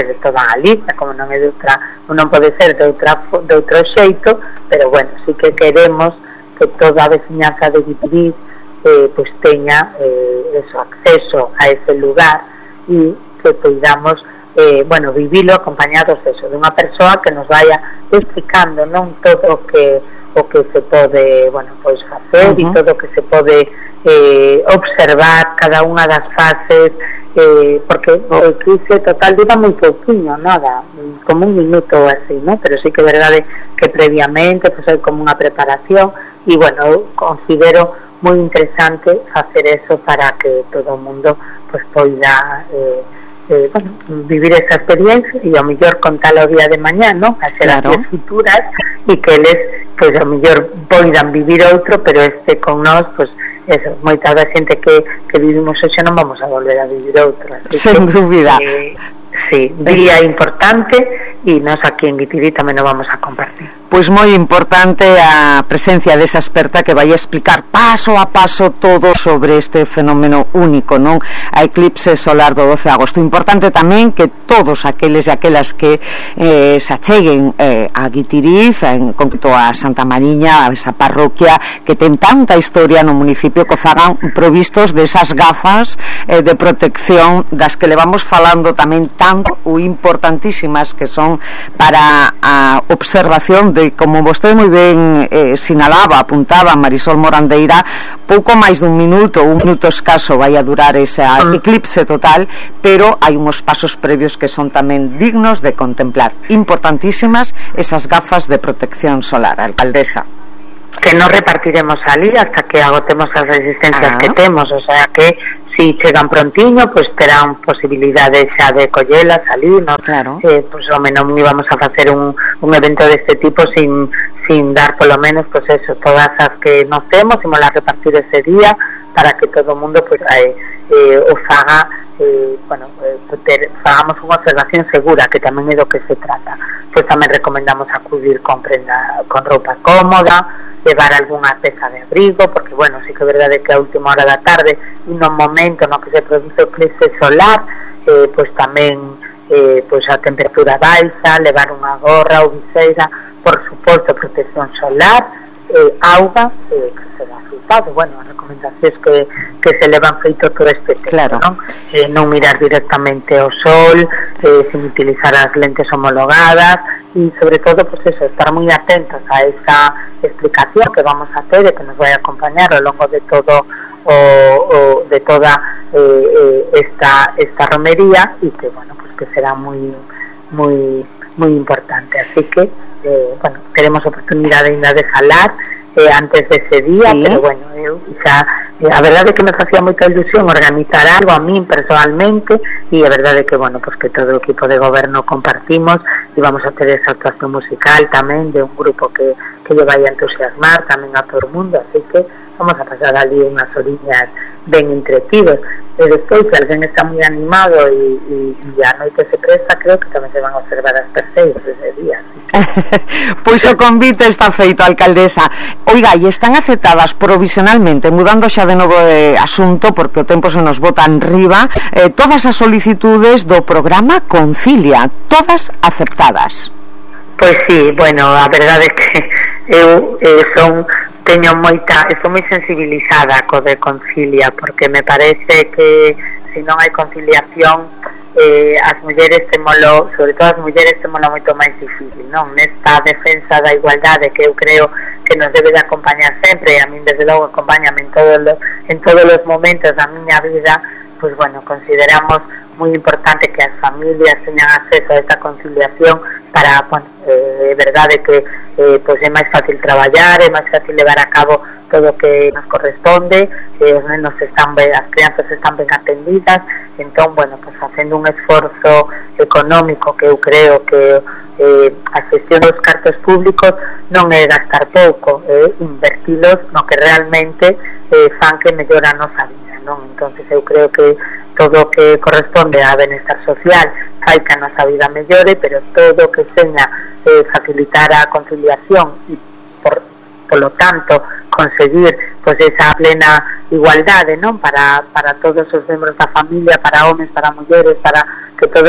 de toda a Galicia, como non é de outra, non pode ser de outro xeito, pero bueno, sí que queremos que toda a veciñanza de Guitiriz pues teña eso, acceso a ese lugar e que podamos vivilo acompañados de unha persoa que nos vaya explicando non todo o que se pode facer e todo o que se pode observar cada unha das fases, porque o eclipse total dura moi pouquinho, nada, como un minuto ou así, ¿no? Pero sí que é verdade que previamente pues hai como unha preparación e eu considero moi interesante facer eso para que todo o mundo pues poida vivir esa experiencia e ao mellor contala o día de mañá, ¿no? A xeracións futuras e que eles pues ao mellor poidan vivir outro, pero con nós pues eso, moita da xente que vivimos hoxe non vamos a volver a vivir outro, así sen dúbida. Sí, día importante e nós aquí en Guitiriz tamén nos vamos a compartir. Pois moi importante a presencia desa experta que vai explicar paso a paso todo sobre este fenómeno único, non? A eclipse solar do 12 de agosto. Importante tamén que todos aqueles e aquelas que se acheguen a Guitiriz, en concreto a Santa Mariña, a esa parroquia que ten tanta historia no municipio, que fagan provistos desas gafas de protección das que levamos falando tamén tanto ou importantísimas, que son para a observación de, como vostede moi ben sinalaba, apuntaba Marisol Morandeira, pouco máis dun minuto, un minuto escaso vai a durar ese eclipse total, pero hai uns pasos previos que son tamén dignos de contemplar. Importantísimas esas gafas de protección solar, alcaldesa. Que non repartiremos ali hasta que agotemos as resistencias que temos, o sea que si chegan prontiño, pues terán posibilidade xa de collelas ali, ¿no? Claro. Pues ao menos íbamos a facer un evento deste tipo sin dar polo menos pues eso, todas as que nos temos, imos a repartir ese día para que todo o mundo pues o faga, fagamos unha observación segura, que tamén é do que se trata. Pues tamén recomendamos acudir con roupa cómoda, levar algunha peza de abrigo, porque sí que é verdade que a última hora da tarde e no momento no que se produce o eclipse solar, pues tamén a temperatura baixa, levar unha gorra ou viseira, por suposto protección solar, auga, que se dá resultado, as recomendacións que se levan feito todo este tempo, non mirar directamente ao sol, sin utilizar as lentes homologadas e sobre todo estar moi atentos a esa explicación que vamos a ter e que nos vai a acompañar ao longo de todo de toda esta romería e que que será moi importante, así que teremos oportunidade ainda de falar antes dese día, pero eu xa a verdade é que me facía moita ilusión organizar algo a min personalmente e a verdade é que que todo o equipo de goberno compartimos e vamos a ter esa actuación musical tamén de un grupo que lle vai a entusiasmar tamén a todo o mundo, así que vamos a pasar ali unhas horiñas ben entretidos e despois se alguén está moi animado e a noite se presta, creo que tamén se van a observar as perseiras ese día. Pois o convite está feito, alcaldesa. Oiga, e están aceptadas provisionalmente, mudando xa de novo de asunto porque o tempo se nos bota enriba, todas as solicitudes do programa Concilia, todas aceptadas. Pois sí, a verdade é que eu estou moi sensibilizada co de Concilia, porque me parece que se non hai conciliación as mulleres temolo, sobre todo as mulleres temolo moito máis difícil, non? Nesta defensa da igualdade que eu creo que nos debe de acompañar sempre, e a min desde logo acompáñame en todos os momentos da miña vida, pues consideramos moi importante que as familias teñan acceso a esta conciliación para, é verdade que é máis fácil traballar, é máis fácil levar a cabo todo o que nos corresponde, os nenos as crianzas están ben atendidas, entón, facendo un esforzo económico que eu creo que a xestión dos cartos públicos non é gastar pouco, é invertilos no que realmente fan que mellora a nosa vida, non? Entonces eu creo que todo o que corresponde á benestar social fai que a nosa vida mellore, pero todo o que seña facilitar a conciliación e polo tanto conseguir esa plena igualdade, non? Para todos os membros da familia, para homes, para mulleres, para que todos